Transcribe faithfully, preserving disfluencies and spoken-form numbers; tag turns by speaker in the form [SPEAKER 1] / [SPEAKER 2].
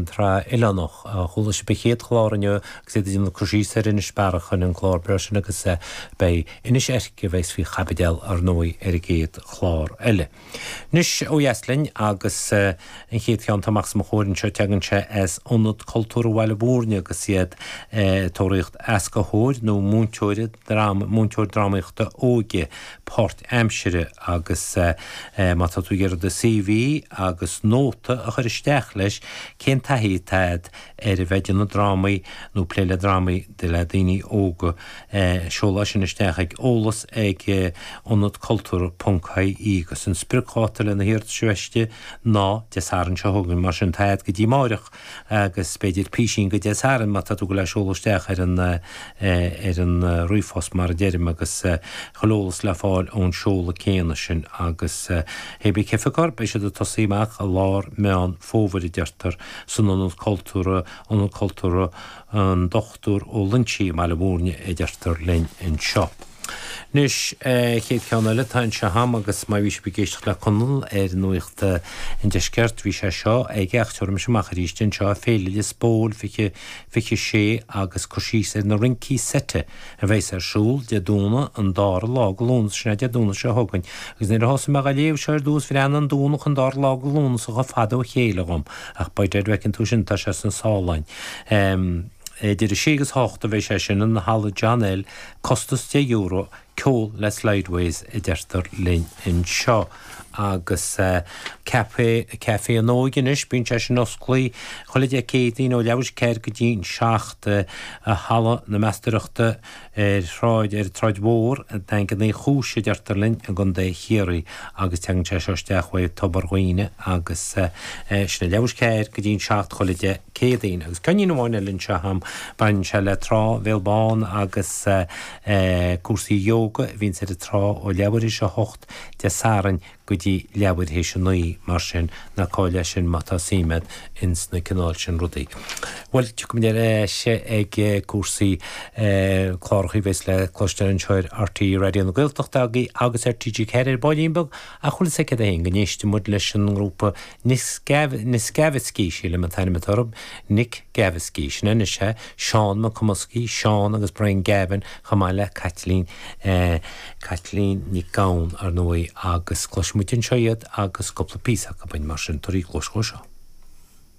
[SPEAKER 1] an tSraith Oileánach. Chuala sibh an chéad chlár inniu agus iad ag déanamh cur síos ar Inis Bearach in an clár breá sin agus beidh Inis Eirce a bheas faoi chaibidil ar ndóigh ar an gcéad chlár eile. Anois ó dheas linn agus an chéad cheann atá amach os mo chomhair anseo tagann sé as Ionad Cultúrtha Bhaile Mhúirne agus iad ag tóraíocht éascaitheoir nó múinteoir múinteoir drámaíochta óige páirtaimseartha agus má tá tú ag iarraidh do CV agus nóta a chur isteach leis cén taithí atá agat ar a bheith ag déanamh drámaí nó plé le drámaí le daoine óga seol é sin isteach ag eolas ag ionad cultúrtha ponc ie agus an spriocdháta le na hiarratais a bheith ná Dé Sathairn seo chugainn mar sin tá agat go dtí amárach agus b'fhéidir písín go Dé Sathairn má tá tú le seoladh isteach ar an ar an ríomhphost mar a deirim agus chuile eolas le fáil ón seoladh céanna sin agus hé bí cifeacar beidh siad ag tosaí amach i lár Meán Fómhair a deirtear san Ionad Cultúrtha Ionad Cultúrtha an Dochtúir Ó Loinsigh i mBaile Mhúirne a deirtear linn anseo. Anois chéad cheann eile tá anseo agam agus má bhí sibh ag éisteacht le Conall ar Nuacht an Deiscirt bhí sé seo aige ach tabharfaidh mise amach arís anseo Féile Lios Póil fiche fiche sé agus cur síos ar na rincí seite a bheas ar siúl Dé Domhnaigh an dara lá de Lúnasa sin é Dé Domhnaigh seo chugainn agus nuair a thosaigh mé á léamh seo ar dtús bhreathnaigh an Domhnach an dara lá de Lúnasa chomh fada ó chéile dhom ach by dead bhfeiceann tú sin tá sé sna sáláin. Um, Idir a sé agus hocht a bheidh sé sin in Halla John L, costas deich euro, ceol le Slideways a deirtear linn anseo. Agus Café Café an Óige anois, bíonn sé sin osclaí chuile Dé Céadaoin ó leathuair tar éis a ceathair go dtí an seacht i Halla na Meastóireachta ar shráid ar Tsráid Mhór, Daingean Uí Chúis a deirtear linn i gContae Chiarraí agus teagann sé seo isteach uaidh Tobar Dhuibhne agus sin é leathuair tar éis a ceathair go dtí an seacht chuile Dé Céadaoin. Agus ceainnín amháin eile anseo agam, baineann sé le Trá Bhéal Bán agus cúrsaí ióga a bhíonns ar an trá ó leathuair tar éis a hocht Dé Sathairn go dtí leathuair tar éis a naoi mar sin ná caill é sin má tá suim agat ins na cineál sin rudaí. Bhuel, tiocfaimid ar ais ag cúrsaí cláracha a bheas le cloisteáil anseo ar RTÉ Raidió na Gaeltachta agus ar TG Ceathair ar baillín beag ach bhfuil a fhios agat céard é féin go n-éistfidh muid leis an ngrúpa Niskaviski, sílim an t-ainm atá orthu, Nick Gaviski, sin anois é, Seán Mac Cumascaí, Seán agus Brian Gavin chomh maith le Caitlín Caitlín Nic Gabhann ar ndóigh agus cloisfidh muid anseo iad agus cúpla píosa acu mar sin tabhair cluas dhó seo.